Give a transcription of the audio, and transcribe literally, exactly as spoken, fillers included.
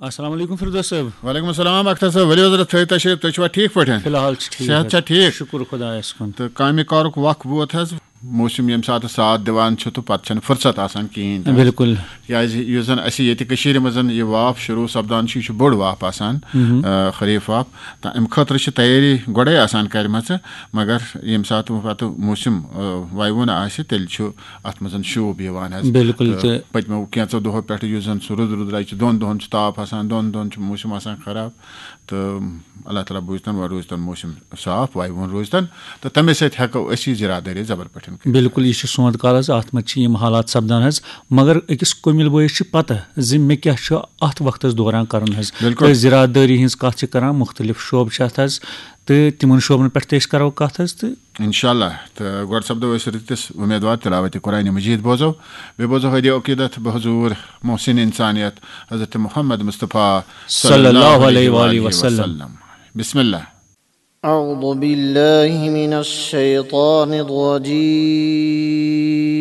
السلام علیکم فردوس صٲب۔ وعلیکم السلام اختر صٲب، ؤلِو حضرت تھٲیِو تشریف، تُہۍ چھِوا ٹھیٖک پٲٹھۍ؟ فی الحال چھِ ٹھیٖک صحت حظ۔ چھا ٹھیٖک؟ شُکُر خۄدایَس کُن۔ تہٕ کامہِ کارُک وق ووت حظ، موسم ییٚمہِ ساتہٕ ساتھ دِوان چھُ تہٕ پتہٕ چھَنہٕ فرصت آسان کِہیٖنۍ تہِ حظ۔ بِلکُل۔ کیازِ یُس زن اَسہِ ییٚتہِ کٔشیٖرِ منٛز یہِ واپھ شروٗع سپدان چھُ، یہِ چھُ بوٚڑ واپھ آسان، آ، خریٖف واپھ۔ تہٕ اَمہِ خٲطرٕ چھِ تیٲری گۄڈَے آسان کَرِمَژٕ، مگر ییٚمہِ ساتہٕ وۄنۍ پتہٕ موسم، آ، وَیوُن آسہِ، تیٚلہِ چھُ اَتھ منٛز شوٗب یِوان حظ۔ بِلکُل۔ تہٕ تہٕ پٔتمیو کینٛژو دۄہو پٮ۪ٹھٕ یُس زن سُہ رُد رُد رَچہِ، دۄن دۄہن چھُ تاپھ آسان، دۄن دۄہن چھُ موسم آسان خراب، تہٕ اللہ تعالیٰ بوٗزتن وۄنۍ روٗزتن موسم صاف، وَیوُن روٗزتن، تہٕ تَمے سۭتۍ ہٮ۪کو أسۍ یہِ زِرات دٲری زبر پٲٹھۍ کٔرِتھ۔ بِلکُل، یہِ چھُ سونٛتھ کال حظ، اَتھ منٛز چھِ یِم حالات سپدان حظ، مگر أکِس کُمِل بٲیِس چھِ پتہ زِ مےٚ کیٛاہ چھُ اَتھ وقتس دوران کرُن حظ۔ بِلکُل۔ تہٕ زِرات دٲری ہٕنٛز کَتھ چھِ کران، مُختٔلِف شعبہٕ چھِ اَتھ حظ، تہٕ تِمن شعبن پٮ۪ٹھ تہِ أسۍ کرو کتھ حظ۔ تہٕ انشاءاللہ۔ تہٕ گۄڈٕ سپدو أسۍ رٕتِس اُمیدوار تلاوت قرآن مجید بوزو، بیٚیہِ بوزو ہدی عقیدت بحضور محسن انسانیت حضرت محمد مصطفیٰ صلی اللہ علیہ وآلہ وسلم۔ بسم اللہ۔ أعوذ بالله من الشيطان الرجيم.